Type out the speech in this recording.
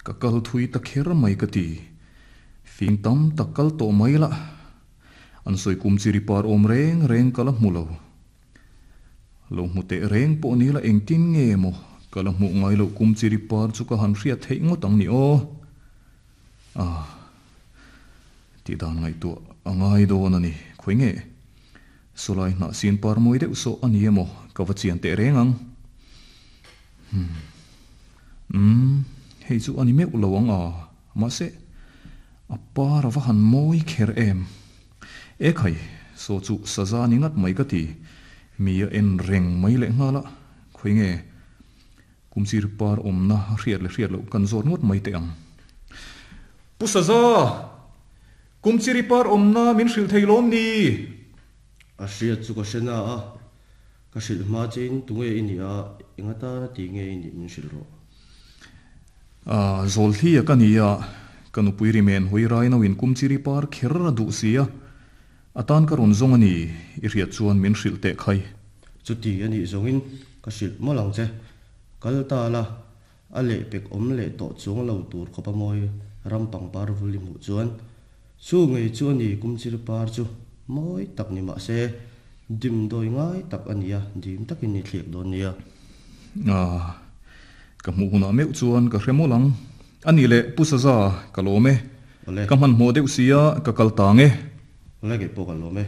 Ka kal thui ta kher mai ka ti. Fing tam tak kal tawh mai la. An sawi kum chi ri par awm reng reng ka la hmu lo. Lo hmu teh reng pawh ni la engtin nge maw ka la hmuh ngai loh kum chi ri par chu ka han hriat theih ngawt ang ni aw. Ah. Tih dan ngaihtuah a ngai dawn a ni. Khawi nge? Sawlai hnah sin par mawi deuh sawh a ni emaw ka va chian teh reng ang. Umm. Umm, hei chu a ni meuh lo ang a, mahse, a par a va han mawi kher em. E khai, saw chu saza ni ngat mai ka ti. Mi a en reng mai leh nghal a, khawi nge? Kum sir par awmna hriat leh hriat loh kan zawt ngawt mai teh ang. Pu Saza! Kum chiri par awmna min hrilh thei lawm ni? A hriat chu ka hre na a, ka hrilh hma chein tunge i nih a, eng atana ti nge i nih min hrilh rawh. A, Zawlhli a ka ni a, ka nupui rimen hawi rai nauin kum chiri par kher a duh si a, a tan ka rawn zawng a ni, i hriat chuan min hrilh teh khai. Chuti a nih zawngin ka hrilh mawlh ang che, kal ta la, A lehpek awm leh tawh chuang lo tur khawp a mawi ram pangpar vul i hmuh chuan chu ngei chu a ni kumchir par chu mawi tak ni mah se dimdawi ngai tak a nia dim takin i thliak dawn nia. Ah, ka hmuh hunah meuh chuan ka hre mawlh ang. A nih leh Pu Saza, ka lawm e. Awle. Ka hmanhmawh deuh sia ka kal tang e. Awle kei pawh ka lawm e.